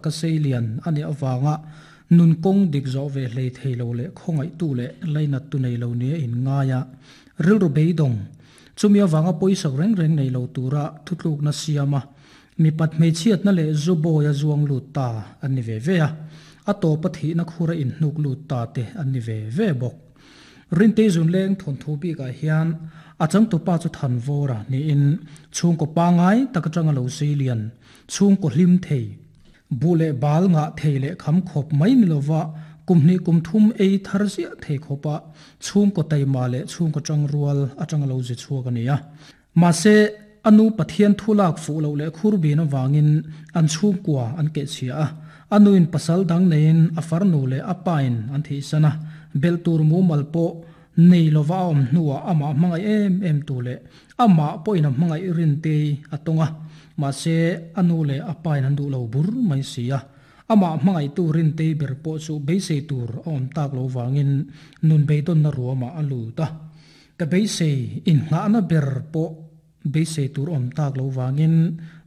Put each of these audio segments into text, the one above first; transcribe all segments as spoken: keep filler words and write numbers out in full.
Ka seilian ani awanga nun kong dik zo ve hlei theilo le khongai tu le lainat tu nei lo ni in ngaya rilru beidong chumi awanga poisak reng reng nei lo tura thutluk na siama mi pat mei chiat na le zuboya zuang lu ta ani ve ve a ato pathi na khura in hnuk lu ta te ani ve ve bok rinte zun leng thon thu bi ka hian achang tu pa chu than vora ni in chung ko pangai takatanga lo seilian chung ko hlim thei bule bal nga theile kham khop mai nilowa kumni kumthum ei tharzia thei khopa chung ko taima le chung ko changrual atanga lo je chuak ania ma se anu pathian thulak fu lo le khurbi na wangin an chung kwa an ke chia anu in pasal dang nein afar nu le apain an thi sana beltur mu malpo nei lova om nuwa ama mangai em em tu le ama poina mangai rin te atonga ma se anu le apain an du lo bur mai sia ama mangai tu rin te ber po chu beisei tur om tak lo wangin nun beidon na ruama alu ta ka beisei in nga na ber po beisei tur om tak lo wangin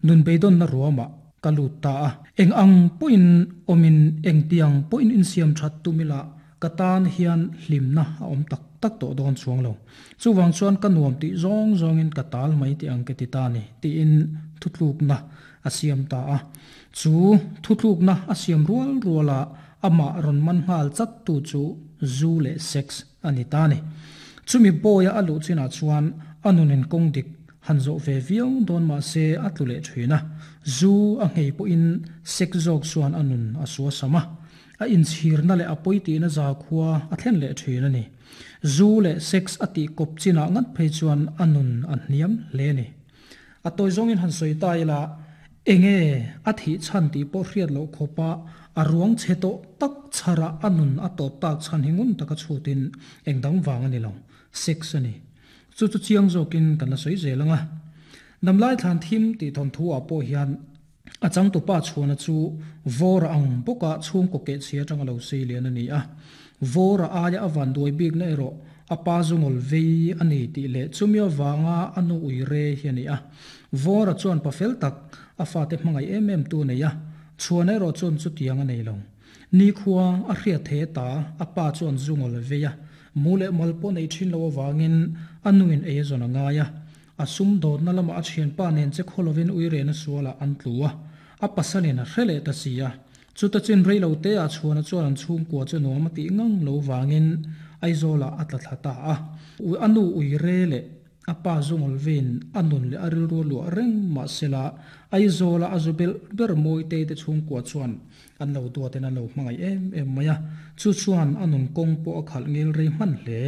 nun beidon na ruama kaluta eng ang poin omin eng tiang poin in siam that tumila katan hian hlimna a om tak tak to don chuang lo chuwang chuan ka nuam ti zong zong in katal mai ti ang ke ti ta ni ti in thutluk na asiam ta a chu thutluk na asiam rual ruala ama ron man ngal chat tu chu zu le sex ani ta ni chumi boya alu china chuan anunin kongdik hanzo ve viau don ma se atlule thuina zu a ngei po in sex jok chuan anun asua sama a in chhir na le apoiti na za khuwa a thlen le thina ni zu le sex ati kop china ngat phei chuan anun an hniam le ni a toy zong in han soi tai la enge a thi chan ti po hriat lo khopa aruang cheto tak chara anun atop tak chan hingun taka chutin engdang wang ani lo sex ani chu chu chiang zokin kan la soi zelanga namlai than thim ti thon thu a po hian achang tu pa chhuana chu vor ang boka chung ko ke chia tanga lo sei lian ani a vor a ya awan doi big na ero apa zungol vei ani ti le chumia wanga anu uire hi ani a vor a chuan pafel tak a fa te hmangai em em tu nei a chuan ero chun chu tiang anei lo ni khuwa a hria the ta apa chuan zungol veia mule malpo nei thin lo wangin anuin e zona ngaya asum dot na lama a thian pa nen che kholovin uire na suala an tluwa a pasalin a hrele ta sia chuta chin reilo te a chuan a chuan an chung kwa chu nuam ti ngang lo wangin aizola atla thlata a u anu uire le apa zungol vin anun le aril ru lu reng ma sela aizola azubel ber moi te te chung kwa chuan an lo tua ten an lo hmangai em em maya chu chuan anun kong po a khal ngil rei hman hle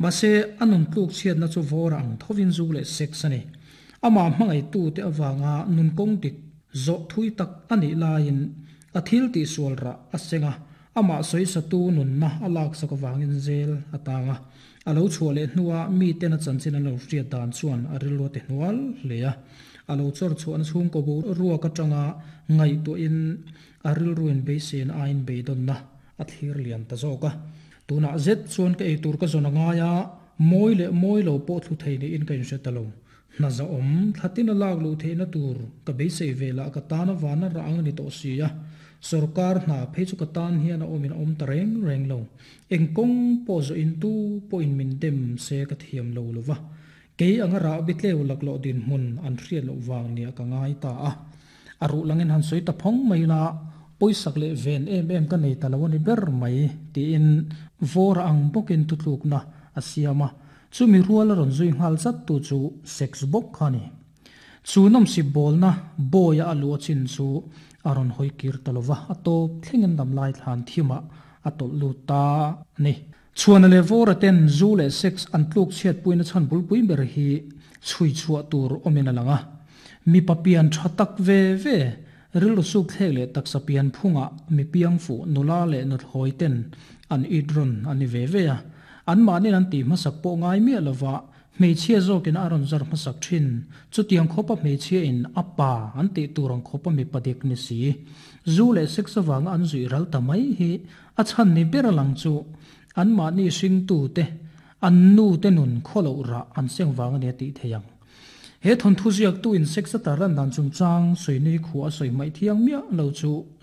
ma se anun tluk chiat na chu vorang thovin zu le sex ani ama hmangai tu te awanga nun kong dik zo thui tak ani lain a thil ti sualra asenga ama soi satu nun na alak sak wangin zel atanga alo chhuale hnuwa mi ten a chanchin alo hriat dan chuan a rilru te hnual hlea alo chor chuan chhung ko bo ruwa ka tanga ngai to in a rilruin beisen ain beidon na a thlir lian ta zawka tuna zet chuan ka eitur ka zona ngaya moi le moi lo po thu thei ni in ka in hretalo na za om thatin lak lu theina tur ka beisei vela ka tana wana rang ni to sia sarkar na phei chu ka tan hian a omin om ta reng reng lo engkong po zo in tu po in min dem se ka thiam lo lova ke anga ra bitleu laklo din mun an hriat lo wang nia ka ngai ta a aru langin han soi ta phong mai la poisak le ven em em ka nei talawani ber mai ti in vor ang bokin tutluk na asiama chumi rual ron zui ngal chat tu chu sex bok khani chu nom si bol na boya alu chin chu aron hoi kir talova ato thlengin dam lai thlan thima atol lu ta ni chuan le vor ten zu le sex an tluk chiat puina chan bul pui ber hi chui chua tur omina langa mi papian thatak ve ve rilu suk thlek le taksapian phunga mi piang fu nula le nut hoi ten an idron ani ve ve a an manin an ti hmasak pawh ngai mi lova hmeichhia zawkin a rawn zar hmasak thin chutiang khawpa hmeichhia in apa an tih tur ang khawpa mi padik ni si zu leh sex awanga an zui ral ta mai hi a chhan ni ber lang chu an mahni hring tu te an nu te nun khawlo ra an seng wang ani tih theiang He thawnthu ziaktu in sex a tarlan dan chungchang sawi ni khua a sawi hmaih thiang miah lo chu